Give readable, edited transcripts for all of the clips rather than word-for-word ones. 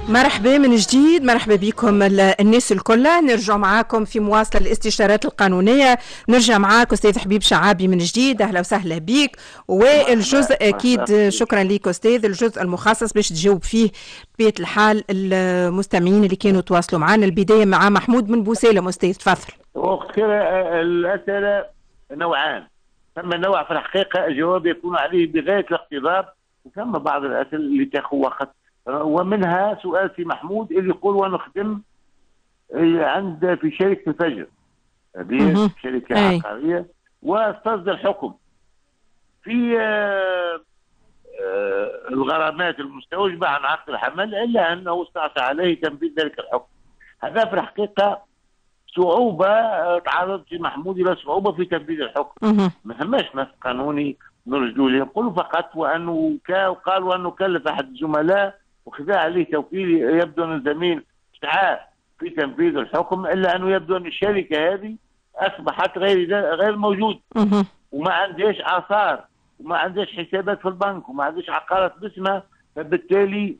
مرحبا من جديد، مرحبا بكم الناس الكل. نرجع معاكم في مواصلة الاستشارات القانونية. نرجع معاك أستاذ حبيب شعابي من جديد، أهلا وسهلا بك. والجزء أكيد شكرا لك أستاذ، الجزء المخصص باش تجاوب فيه بطبيعة الحال المستمعين اللي كانوا تواصلوا معنا. البداية مع محمود من بوسالم. أستاذ تفضل. وقت الأسئلة نوعان، ثم نوع في الحقيقة الجواب يكون عليه بغاية الاقتضاب، وثم بعض الأسئلة اللي تاخذ وقت، ومنها سؤال في محمود اللي يقول وانا خدم عند في شركة الفجر، هذه شركة عقارية، واستصدر حكم في الغرامات المستوجبه عن عقد الحمل، الا انه استعصى عليه تنفيذ ذلك الحكم. هذا في الحقيقة صعوبة، تعرض في محمود الى صعوبة في تنفيذ الحكم. ما ثماش نص قانوني نرجو له، نقول فقط وانه قال وانه كلف احد الزملاء وخذا عليه توكيل، يبدو ان الزميل سعى في تنفيذ الحكم، الا انه يبدو ان الشركة هذه اصبحت غير موجود، وما عندهاش اثار، وما عندهاش حسابات في البنك، وما عندهاش عقارات باسمها. فبالتالي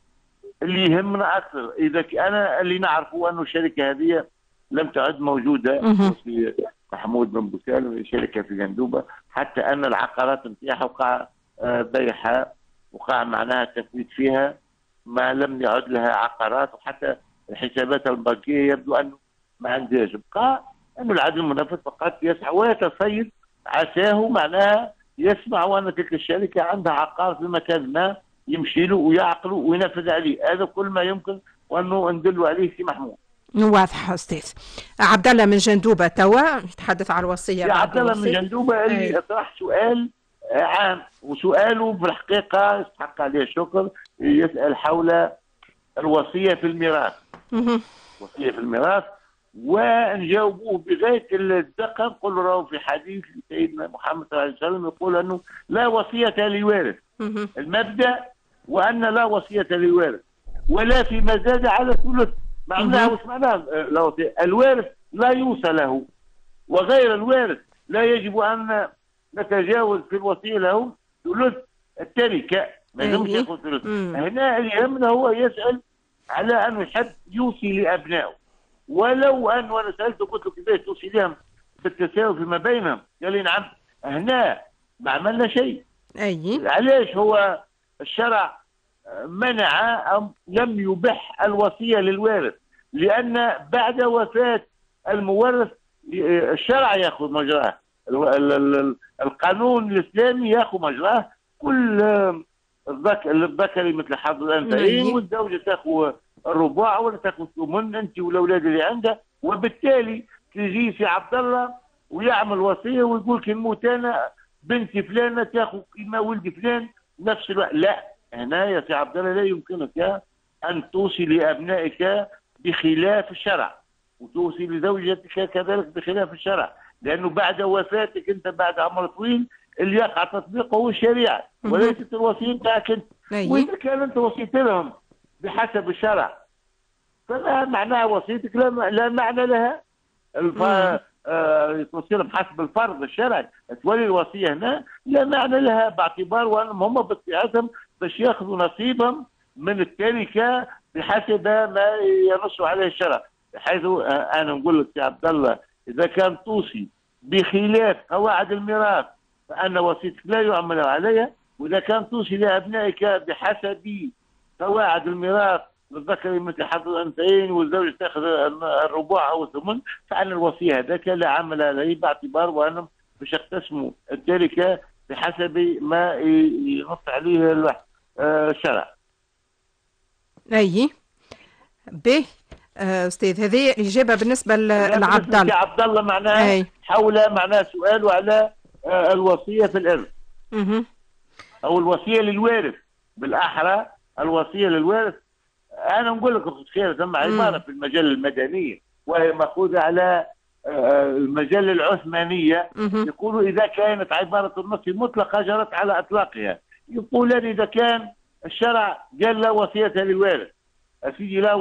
اللي يهمنا اكثر، اذا انا اللي نعرفه انه الشركة هذه لم تعد موجودة في محمود بن بوسالم، شركة في جندوبه، حتى ان العقارات نتاعها وقع بيعها، وقع معناها تفويت فيها، ما لم يعد لها عقارات، وحتى الحسابات البنكية يبدو انه ما عندهاش. بقى انه العدل المنفذ فقط يسعى ويتصيد، عساه معناها يسمع وان تلك الشركة عندها عقار في مكان ما، يمشي له ويعقله وينفذ عليه. هذا كل ما يمكن وانه ندل عليه في محمود. واضح استاذ. عبد الله من جندوبه توا يتحدث على الوصية. يا عبد الله من جندوبه اللي طرح سؤال عام، وسؤاله في الحقيقة يستحق عليه الشكر، يسال حول الوصية في الميراث. وصية في الميراث، ونجاوبوه بغاية الدقة، نقول راهو في حديث سيدنا محمد صلى الله عليه وسلم يقول انه لا وصية لوارث. المبدا وان لا وصية لوارث ولا فيما زاد على ثلث. معناها واش معناها لا وصية؟ الوارث لا يوصى له، وغير الوارث لا يجب ان نتجاوز في الوصية له ثلث التركة، ما يلزمش ياخذ ثلث. هنا اللي يهمنا هو يسال على انه يحب يوصي لابنائه، ولو ان وانا سالته قلت له كيفاش توصي لهم بالتساوي فيما بينهم؟ قال لي نعم. هنا ما عملنا شيء. علاش هو الشرع منع أو لم يبح الوصية للوارث؟ لان بعد وفاه المورث الشرع ياخذ مجراه، القانون الاسلامي ياخذ مجراه، كل الذكر مثل حظ الانثيين، والزوجة تاخذ الرباع ولا تاخذ الثمن، انت والاولاد اللي عندها. وبالتالي تجي في عبد الله ويعمل وصية ويقول كي نموت انا بنتي فلانه تاخذ كيما ولدي فلان نفس الوقت. لا، هنا يا سي عبد الله لا يمكنك ان توصي لابنائك بخلاف الشرع، وتوصي لزوجتك كذلك بخلاف الشرع، لانه بعد وفاتك انت بعد عمر طويل اللي يقع تطبيقه هو الشريعة وليست الوصية نتاعك انت. واذا كان انت وصيت لهم بحسب الشرع فما معناها وصيتك لا معنى لها. توصي لهم حسب الفرض الشرعي، تولي الوصية هنا لا معنى لها، باعتبار وانهم هم باطبيعتهم باش ياخذوا نصيبهم من التركة بحسب ما ينص عليه الشرع. بحيث انا نقول لك يا عبد الله، اذا كان توصي بخلاف قواعد الميراث فان وصيتك لا يعمل عليها، واذا كان توصي لابنائك بحسب قواعد الميراث للذكر مثل حظ الانثيين والزوج تاخذ الرباع او الثمن، فان الوصية هذاك لا عمل عليه، باعتبار وانهم باش يقتسموا التركة بحسب ما ينص عليه الشرع. اي به استاذ، هذه الاجابة بالنسبة لعبد الله. عبد الله معناها حول معناها سؤاله على الوصية في الارث. او الوصية للوارث، بالاحرى الوصية للوارث. انا نقول لك اخت خير، ثم عبارة في المجلة المدنية وهي ماخوذة على المجلة العثمانية، يقولوا اذا كانت عبارة النص مطلقه جرت على اطلاقها. يقولان اذا كان الشرع قال لا وصية للوارث، سيدي لا